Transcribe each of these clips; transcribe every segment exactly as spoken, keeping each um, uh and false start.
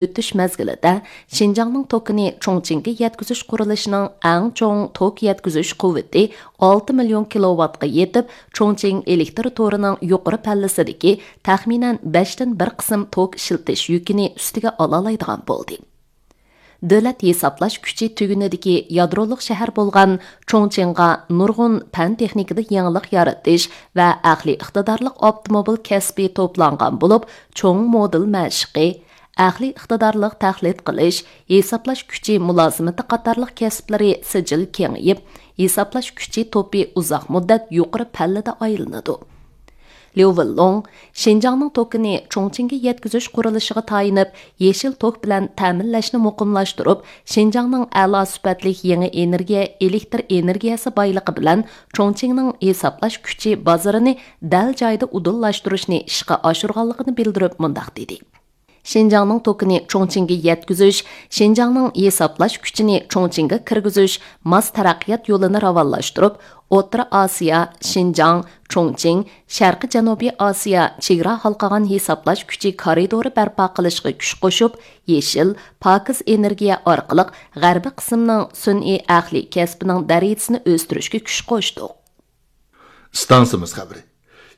ئۆتۈش مەزگىلىدە شىنجاڭنىڭ توكىنى چۇڭچىڭگە يەتكۈزۈش قۇرۇلۇشىنىڭ ئەڭ چوڭ توك يەتكۈزۈش قۇۋۋىتى ئالتە مىليون كىلوۋاتقا يېتىپ، چۇڭچىڭ ئېلېكتر تورىنىڭ يۇقىرى پەللىسىدىكى تەخمىنەن بەشتىن بىر قىسىم توك ئىشلىتىش يۈكىنى ئۈستىگە ئالالايدىغان بولدى. دۆلەت ھېسابلاش كۈچى تۈگۈنىدىكى يادرولۇق شەھەر بولغان چۇڭچىڭغا نۇرغۇن پەن تېخنىكىدا يېڭىلىق يارىتىش ۋە ئەقلىي ئىقتىدارلىق ئاپتوموبىل كەسپى توپلانغان بولۇپ، چوڭ مودېل مەشىقى، ئەقلىي ئىقتىدارلىق تەقلىد قىلىش، ھېسابلاش كۈچى مۇلازىمىتى قاتارلىق كەسىپلىرى سىجىل كېڭىيىپ، ھېسابلاش كۈچى توپى ئۇزاق مۇددەت يۇقىرى پەللىدە ئايلىنىدۇ. ليۇ ۋېنلۇڭ شىنجاڭنىڭ توكىنى چۇڭچىڭگە يەتكۈزۈش قۇرۇلۇشىغا تايىنىپ، يېشىل توك بىلەن تەمىنلەشنى مۇقىملاشتۇرۇپ، شىنجاڭنىڭ ئەلا سۈپەتلىك يېڭى ئېنېرگىيە، ئېلېكتر ئېنېرگىيەسى بايلىقى بىلەن چۇڭچىڭنىڭ ھېسابلاش كۈچى بازىرىنى دەل جايىدا ئۇدۇللاشتۇرۇشنى ئىشقا ئاشۇرغانلىقىنى بىلدۈرۈپ مۇنداق دېدى: شىنجاڭنىڭ توكىنى چۇڭچىڭگە يەتكۈزۈش، شىنجاڭنىڭ ھېسابلاش كۈچىنى چۇڭچىڭگە كىرگۈزۈش ماس تەرەققىيات يولىنى راۋانلاشتۇرۇپ، ئوتتۇرا ئاسىيا، شىنجاڭ، چۇڭچىڭ، شەرقىي جەنۇبىي ئاسىيا چېگرا ھالقىغان ھېسابلاش كۈچى كارىدورى بەرپا قىلىشقا كۈچ قوشۇپ، يېشىل، پاكىز ئېنېرگىيە ئارقىلىق غەربىي قىسىمنىڭ سۈنئىي ئەقلىي كەسپىنىڭ دەرىجىسىنى ئۆستۈرۈشكە كۈچ قوشتۇق. ئىستانسىمىز خەۋىرى.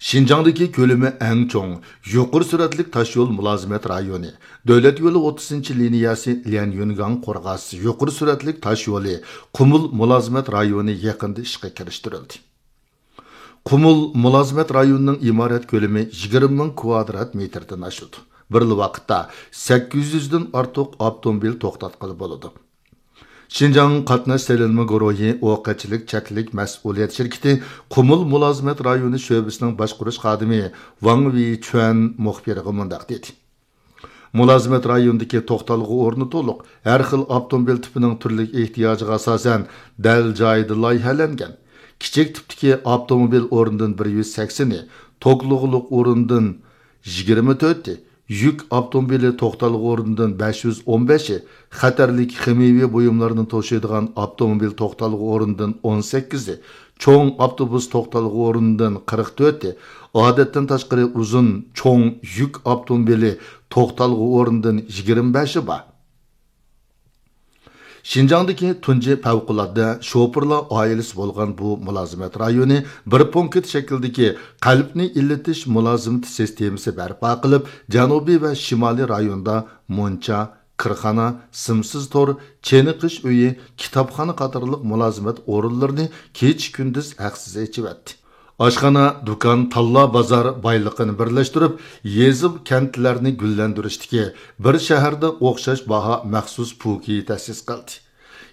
شىنجاڭدىكى كۆلىمى ئەڭ چوڭ، يۇقىرى سۈرئەتلىك تاشيول مۇلازىمەت رايونى، دۆلەت يولى ئوتتۇزىنچى لىنىيەسى ليەنيۈنگاڭ قورغاس يۇقىرى سۈرئەتلىك تاشيولى قۇمۇل مۇلازىمەت رايونى يېقىندا ئىشقا كىرىشتۈرۈلدى. قۇمۇل مۇلازىمەت رايونىنىڭ ئىمارەت كۆلىمى يىگىرمە مىڭ كۋادرات مېتىردىن ئاشىدۇ. بىرلا ۋاقىتتا سەككىز يۈزدىن ئارتۇق ئاپتوموبىل توختاتقىلى بولىدۇ. شىنجاڭ قاتناش سېلىنما گۇرۇھى ئوقەتچىلىك چەكلىك مەسئۇلىيەت شىركىتى قۇمۇل مۇلازىمەت رايونى شۆبىسىنىڭ باشقۇرۇش خادىمى ۋاڭ ۋېيچۈەن مۇخبىرغا مۇنداق دېدى: مۇلازىمەت رايونىدىكى توختالغۇ ئورنى تولۇق، ھەر خىل ئاپتوموبىل تىپىنىڭ تۈرلۈك ئېھتىياجىغا ئاساسەن دەل جايىدا لايىھەلەنگەن. كىچىك تىپتىكى ئاپتوموبىل ئورنىدىن بىر يۈز سەكسىنى، توكلۇقلۇق ئورنىدىن يىگىرمە تۆتى، يۈك ئاپتوموبىلى توختالغۇ ئورنىدىن بەش يۈز ئون بەشى، خەتەرلىك خىمىيەۋى بۇيۇملارنى توشۇيدىغان ئاپتوموبىل توختالغۇ ئورنىدىن ئون سەككىزى، چوڭ ئاپتوبۇس توختالغۇ ئورنىدىن قىرىق تۆتى، ئادەتتىن تاشقىرى ئۇزۇن چوڭ يۈك ئاپتوموبىلى توختالغۇ ئورنىدىن يىگىرمە بەشى بار. شىنجاڭدىكى تۇنجى پەۋقۇلئاددە شوپۇرلار ئائىلىسى بولغان بۇ مۇلازىمەت رايونى بىر پونكىت شەكلىدىكى قەلبنى ئىللىتىش مۇلازىمىتى سىستېمىسى بەرپا قىلىپ، جەنۇبىي ۋە شىمالىي رايوندا مۇنچا، كىرخانا، سىمسىز تور، چېنىقىش ئۆيى، كىتابخانا قاتارلىق مۇلازىمەت ئورۇنلىرىنى كېچە-كۈندۈز ھەقسىز ئېچىۋەتتى. ئاشخانا، دۇكان، تاللا بازار بايلىقىنى بىرلەشتۈرۈپ، يېزا، كەنتلەرنى گۈللەندۈرۈشتىكى بىر شەھەردە ئوخشاش باھا مەخسۇس پوكى تەسىس قىلدى.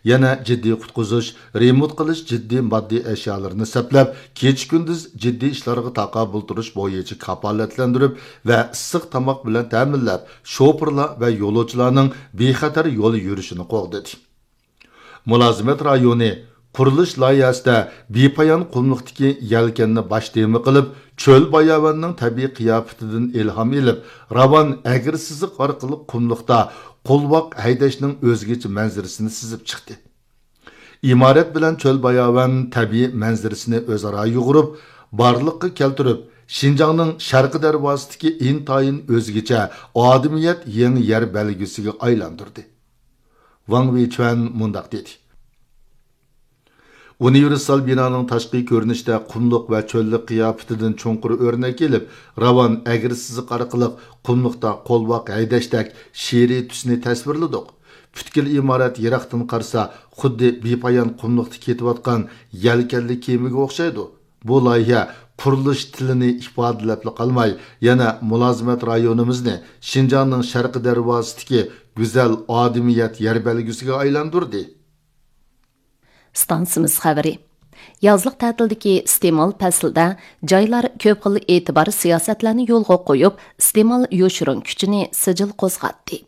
يەنە جىددىي قۇتقۇزۇش، رېمونت قىلىش جىددىي ماددىي ئەشيالىرىنى سەپلەپ، كېچە-كۈندۈز جىددىي ئىشلارغا تاقابىل تۇرۇش بويىچە كاپالەتلەندۈرۈپ ۋە ئىسسىق تاماق بىلەن تەمىنلەپ، شوپۇرلار ۋە يولۇچىلارنىڭ بىخەتەر يول يۈرۈشىنى قوغدىدى. مۇلازىمەت رايونى قۇرۇلۇش لايىھەسىدە بىپايان قۇملۇقتىكى يەلكەننى باش تېما قىلىپ، چۆل باياۋاننىڭ تەبىئىي قىياپىتىدىن ئىلھام ئېلىپ، راۋان ئەگرى سىزىق ئارقىلىق قۇملۇقتا قولۋاق ھەيدەشنىڭ ئۆزگىچە مەنزىرىسىنى سىزىپ چىقتى. ئىمارەت بىلەن چۆل باياۋان تەبىئىي مەنزىرىسىنى ئۆزئارا يۇغۇرۇپ، بارلىققا كەلتۈرۈپ، شىنجاڭنىڭ شەرقىي دەرۋازىسىدىكى ئىنتايىن ئۆزگىچە ئادىمىيەت يېڭى يەر بەلگىسىگە ئايلاندۇردى. ۋاڭ ۋېيچۈەن مۇنداق دېدى: ئۇنىۋېرسال بىنانىڭ تاشقى كۆرۈنۈشىدە قۇملۇق ۋە چۆللۈك قىياپىتىدىن چوڭقۇر ئۆرنەك ئېلىپ، راۋان ئەگرى سىزىق ئارقىلىق قۇملۇقتا قولۋاق ھەيدەشتەك شېئىرىي تۈسنى تەسۋىرلىدۇق. پۈتكۈل ئىمارەت يىراقتىن قارىسا، خۇددى بىپايان قۇملۇقتا كېتىۋاتقان يەلكەنلىك كېمىگە ئوخشايدۇ. بۇ لايىھە قۇرۇلۇش تىلىنى ئىپادىلەپلا قالماي، يەنە مۇلازىمەت رايونىمىزنى شىنجاڭنىڭ شەرقىي دەرۋازىسىدىكى گۈزەل ئادىمىيەت يەر بەلگىسىگە ئايلاندۇردى. ئىستانسىمىز خەۋىرى. يازلىق تەتىلدىكى ئىستېمال پەسلىدە جايلار كۆپ خىل ئېتىبار سىياسەتلەرنى يولغا قويۇپ، ئىستېمال يوشۇرۇن كۈچىنى سىجىل قوزغاتتى.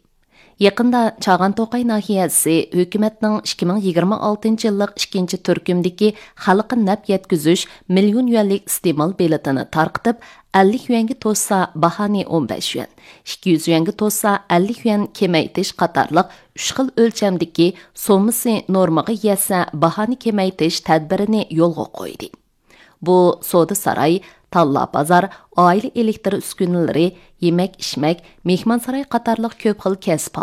يېقىندا چاغان توقاي ناھىيەسى ھۆكۈمەتنىڭ ئىككى مىڭ يىگىرمە ئالتىنچى يىللىق ئىككىنچى تۈركۈمدىكى خەلققە نەپ يەتكۈزۈش مىليون يۈەنلىك ئىستېمال بېلىتىنى تارقىتىپ، ئەللىك يۈەنگە توشسا باھانى ئون بەش يۈەن، ئىككى يۈز يۈەنگە توشسا ئەللىك يۈەن كېمەيتىش قاتارلىق ئۈچ خىل ئۆلچەمدىكى سوممىسى نورمىغا يەتسە باھانى كېمەيتىش تەدبىرىنى يولغا قويدى. بۇ سودا ساراي، تاللا بازار، ئائىلە ئېلېكتر ئۈسكۈنىلىرى، يېمەك ئىچمەك، مېھمانساراي قاتارلىق كۆپ خىل كەسىپ